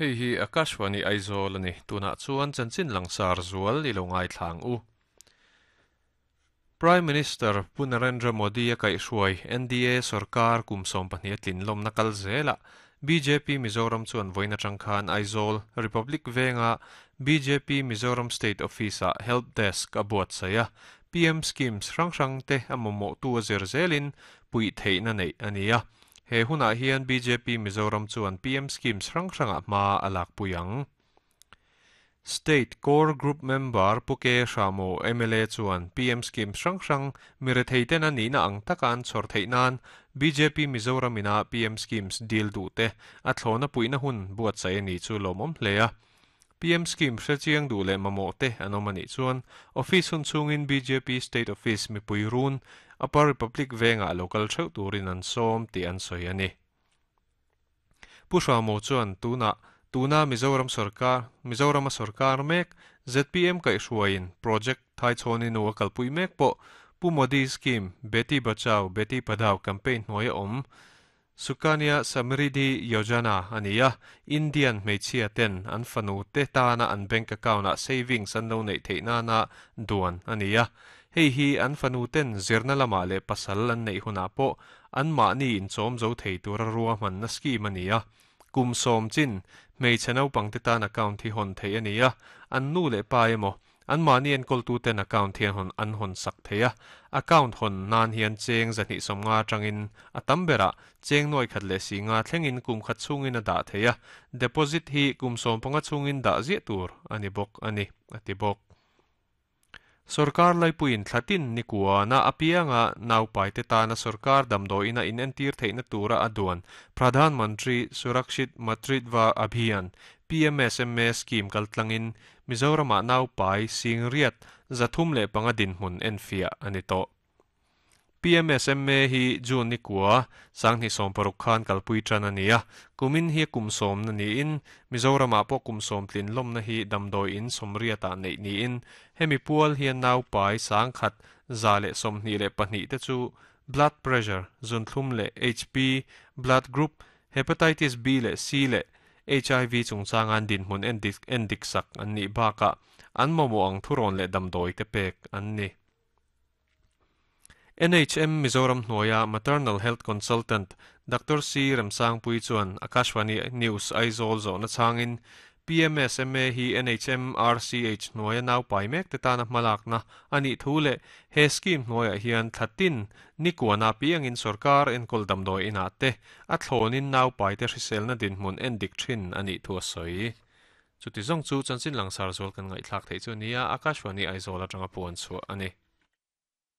Hei hi Akashvani Aizawl a ni. Tunah chuan chanchin langsar zual i lo ngaithla ang u. Prime Minister Pu Narendra Modi a kaihhruai NDA sorkar kum 12 a tlin lawmna kal zelah bjp Mizoram chuan vawiin atang khan Aizawl Republic venga bjp Mizoram State Office-ah Help Desk a buatsaih a, PM Schemes hrang hrang te a mamawhtu a zir zelin puih theihna neih a ni a. He hunah hian bjp Mizoram chuan PM Schemes hrang hrangah hma a lakpui ang. State Core Group member Pu Ke Hramo mla chuan PM Scheme hrang hrang mi retheiten a nihna ang taka an chhawr theih nan bjp Mizoram ina PM Schemes dil duh te a thlawna puihna hun buatsaih a ni chu lawmawm hle a. PM Scheme hre chiang duh leh mamawh te an awm a nih chuan Office hun chhungin bjp State Office mipui run Upper Republic vengah lo kal theuh turin an sawm tih an sawi a ni. Pu Hramo chuan tunah tuna Mizoram sorkar Mizorama sorkar mek zpm kaihhruaiin project Thaichhawni nu a kalpui mek pawh Pu Modi scheme Beti Bachao Beti Padhao campaign hnuaia awm Sukanya Samriddhi Yojana a ni a, Indian hmeichhia ten an fanu te tana an bank account ah savings an lo neih theih nana duan a ni a. Hei hi an fanu ten zirna lamah leh pasal an neih hunah pawh anmahni inchawm zo thei tura ruahmanna scheme a ni a. Kum sawm chin hmeichhe naupang te tan account hi hawn theih a ni a, an nu leh pa emaw, anmahni enkawltuten account hian hawn an hawn sak thei a. Account hawn nan hian cheng 250 atangin a tam berah cheng nuai khat leh si nga thlengin kum khat chhungin a dah thei a, deposit hi kum 15 chhungin dah ziah tur a ni bawk a ni, a ti bawk. Sorkar laipuiin thlatin ni kuana apianga naupaite tana sorkar damdawiina inentir theihna tura a duan Pradhan Mantri Surakshit Matritva Abhiyan, PMSMA, scheme kaltlangin Mizoramah naupai singriat 305 dinhmun enfiah a ni tawh. PMSMA hi June ni kua, 2016 khan kalpui tan a ni a, kumin hi kum sawmna niin, Mizoramah pawh kum sawm tlin lawmna hi damdawi in sawmriatah neih niin, hemi pual hian naupai 1,122 te chu blood pressure, zunthlum leh HP, blood group, hepatitis B leh C leh HIV chungchanga an dinhmun endik sak an nih bakah an mamawh ang thurawn leh damdawi te pek an ni. NHM Mizoram hnuaia Maternal Health Consultant Doctor C Remsangpui chuan Akashvani News Aizawl zawhna chhangin PMSMA hi NHM RCH hnuaia naupai mek te tana hmalakna a nih thu leh he scheme hnuaiah hian thlatin ni kuana piangin sorkar enkawl damdawi inah te a thlawnin naupai te hriselna dinhmun endik thin a nih thu a sawi. Chuti zawng chu chanchin langsar zual kan ngaihthlak theih chu a ni a, Akashvani Aizawl atanga puan chhuah a ni.